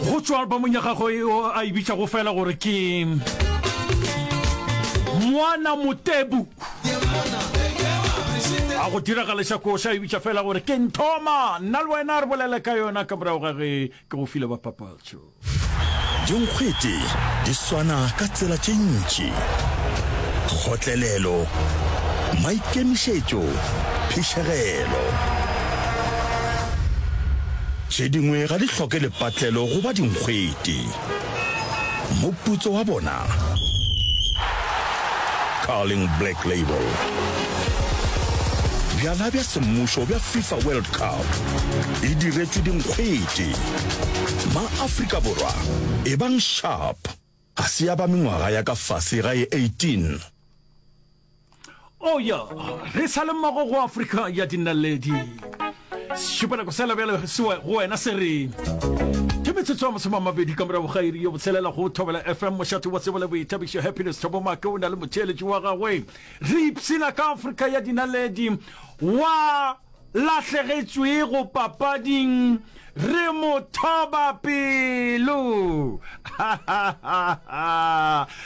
Go tšwa albamong ya gagwe yeo a e bitšago fela gore ke Mwana Motebu. A go diragaleša koša e bitša fela gore ke Nthoma. Nna le wena re bolele ka yona ka morago ga ge ke go file bapapatšo. Dinkgwete di swana ka tsela tše ntši, kgotlelelo, maikemišetšo, phišegelo. Tše dingwe ga di hloke lepatlelo go ba dinkgwete. Moputso wa bona? Carling Black Label. Bjala bja semmušo bja FIFA World Cup e diretšwe dinkgwete. Ma-Afrika Borwa, ebang sharp! Ga se ya ba mengwaga ya ka fase ga ye 18. Oh ya, re sa le mmogo go Afrika ya dinaledi. Šupanako sela bjale se go wena se re ke metsotso ya masomamabedi ka morago ga iri yo botshelela go Thobela FM, mošate wa tsebo le boithabišo. Happiness Thobo Make o na le motheeletši wa gagwe. Re ipshina ka Afrika ya dinaledi wa lahlegetšwego papading re mo thoba pelo.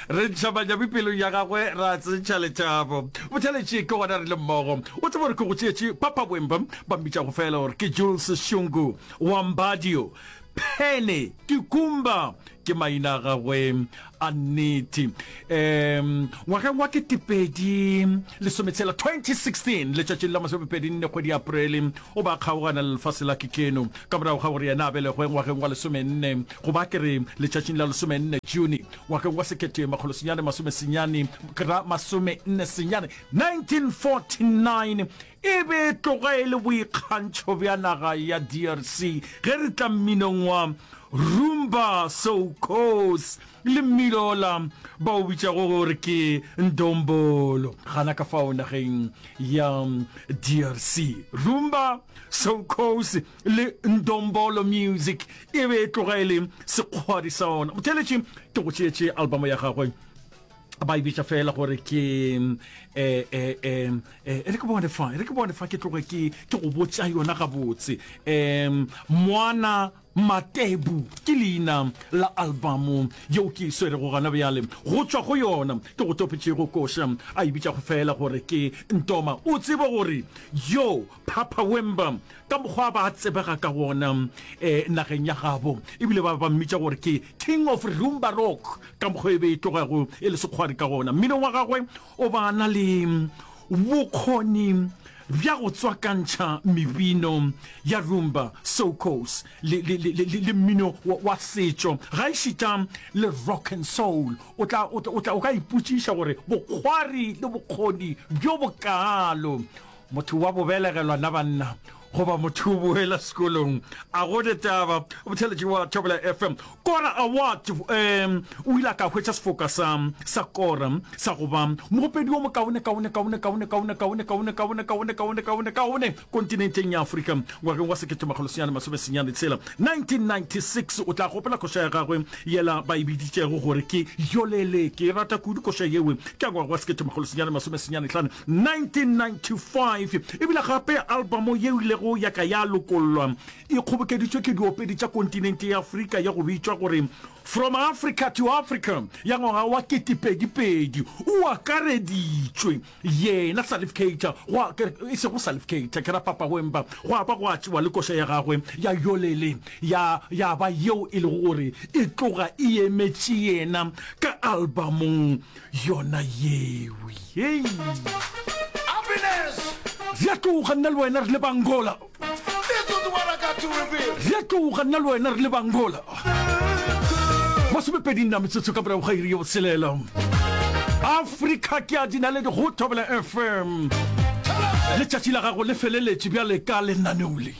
Re ntšha manyami pelong ya gagwe ra tsentšha lethabo. Botheletši ke gona re le mmogo. O tseba gore ke go tšeetše Papa Wemba, ba mmitšago fela gore ke Jules Shungu wa Mbadio. Phene Kikumba ke maina a gagwe a nnete. Um ngwageng wa 2016, 2016, letšatšing la masomepedi-nne kgwedi ya Aprele, o ba kgaogana le lefase la Kikeno ka morago ga gore yena a belegwe ngwageng wa lesomenne, goba ke re letšatšing la lesomenne June ngwageng wa sekete makgolo senyane masomesenyane, ke ra masomenne senyane, 1949. E be e tloga e le boikgantšho bja naga ya DRC ge re tla mminong wa Rumba Soukous le mmino ola ba o bitšago gore ke Ndombolo gana ka fao nageng ya DRC. Rumba Soukous le Ndombolo music e be e tloga e le sekgwadi sa ona. Motheeletši ke go tšeetše albamo ya gagwe ba e bitša fela gore ke um um e re ke bone fa e re ke bone fa ke tloge ke ke go botša yona gabotse um mwana Matebu ke leina la albamo yeo ke e swerego gona bjale. Go tšwa go yona ke go topetšego koša a e bitšago fela gore ke Ntoma. O tsebe gore yo Papa Wemba ka mokgwa ba tsebega ka wona um nageng ya gabo ebile ba ba mmitša gore ke King of Rumba Rock Ka mokgwa e be e tlogago e le sekgwari ka gona, mminong wa gagwe o ba na le bokgoni bja go tswakantšha mebino ya rumba, soukous le, le, le, le, le mmino wa, wa setšo, gaešita le rock and soul. O tla, o tla, o tla, o ka ipotšiša gore bokgwari le bokgoni bjo bokaalo Motho wa bo belegelwa na banna goba motho o boela sekolong? A go ne taba. Motheeletši wa Thobela FM. Kora Award um o ile a ka hwetša sefoka sa sa Kora sa go ba mogopedi wo mokaone kaone kaone kaone kaone kaone kaone kaone kaone kaone kaone kaone kontinenteng ya Afrika ngwageng wa 1996. 1996 o tla gopola koša ya gagwe yela ba e biditšego gore ke Yolele. Ke e rata kudu koša yewe ke ya ngwaga wa 1995. 1995 e bile gape albamo yeo ilego ya ka ya lokollwa e kgobokeditšwe ke diopedi tša kontinente ya Afrika ya go bitšwa gore From Africa to Africa ya ngwaga wa 2002. O akareditšwe yena Salif Keita, gwa, e sego Salif Keita, ke ra Papa Wemba, gwa ba gwa tšewa le koša ya gagwe ya Yolele ya, ya ba yeo e lego gore e tloga e emetše yena ka albamong Yona yeo. Hei. Happiness. Re a tloga nna le wena re le Bangola. This is what I got to reveal. Re a tloga nna le wena re le Bangola. Masomepedi nna metsotso ka morago ga iri ya botshelela. Afrika ke a dinaledi go Thobela FM. Letšatši la gago le feleletše bjale ka lenaneo le.